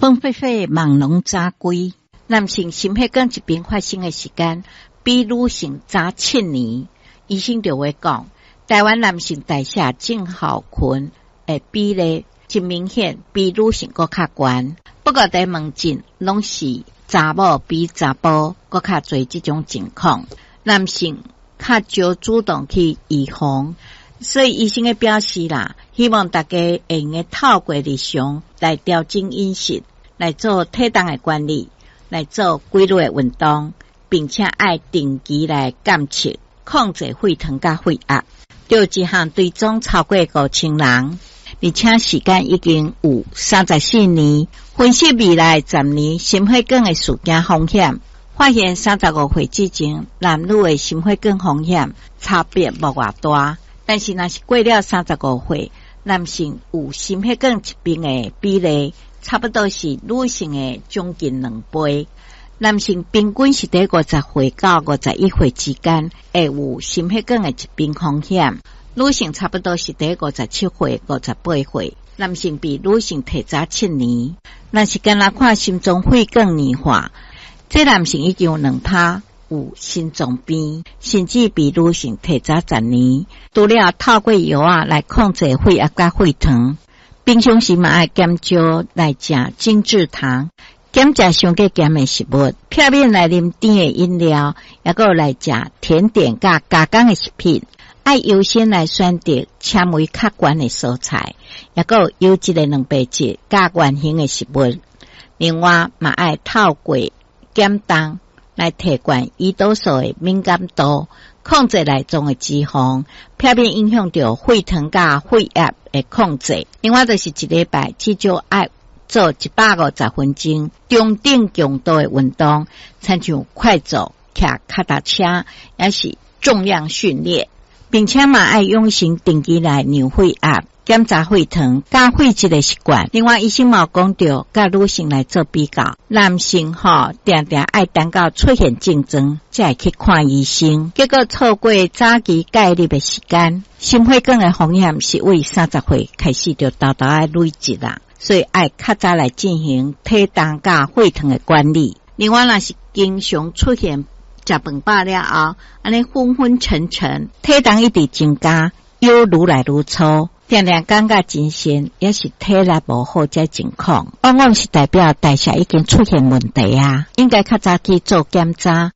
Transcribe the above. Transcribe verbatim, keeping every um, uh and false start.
風火火，夢攏早歸。男性心血管疾病發生的時間比女性早七年。醫生就會講，台灣男性代謝症候群的比例真明顯比女性閣較懸。不過佇門診攏是查某比查埔閣較濟這種情況，男性較少主動去預防，所以醫生的表示啦，希望大家會用得透過日常來調整飲食，來做體重的管理，來做規律的運動，並且愛定期來檢測，控制血糖佮血壓。就這項追蹤超過五千人，而且時間已經有三十四年。分析未來十年心血管的事件風險，發現三十五歲之前男女的心血管風險差別無偌大。但是若是過了三十五歲，男性有心血管疾病的比例，差不多是女性的將近兩倍。男性平均是佇五十歲到五十一歲之間會有心血管的疾病風險，女性差不多是佇五十七歲、五十八歲。男性比女性提早七年。若是干焦看心臟血管硬化，這男性已經有兩趴有心臟病，甚至比女性提早十年。除了透過藥仔來控制血壓佮血糖，平常時嘛愛減少來食精製糖，減食傷過鹹的食物，避免來啉甜的飲料，抑閣來食甜點佮加工的食品。愛優先來選擇纖維較懸的蔬菜，抑閣有優質的蛋白質佮原型的食物。另外，嘛愛透過減重來提懸胰島素的敏感度，控制內臟的脂肪，避免影響著血糖佮血壓的控制。另外，就是一禮拜至少愛做一百五十分鐘中等強度的運動，親像快走、騎腳踏車，抑是重量訓練。並且嘛愛養成定期來量血壓、檢查血糖、佮血脂的習慣。另外，醫生嘛有講著，佮女性來做比較，男性吼定定愛等到出現症狀，才會去看醫生，結果錯過早期介入的時間，心血管的風險是為三十歲開始就沓沓仔累積啦，所以愛較早來進行體重佮血糖的管理。另外，若是經常出現食飯飽了後，按呢昏昏沉沉，體重一直增加，腰愈來愈粗，定定感覺精神抑是體力無好這情況，往往是代表代謝已經出現問題啊，應該較早去做檢查。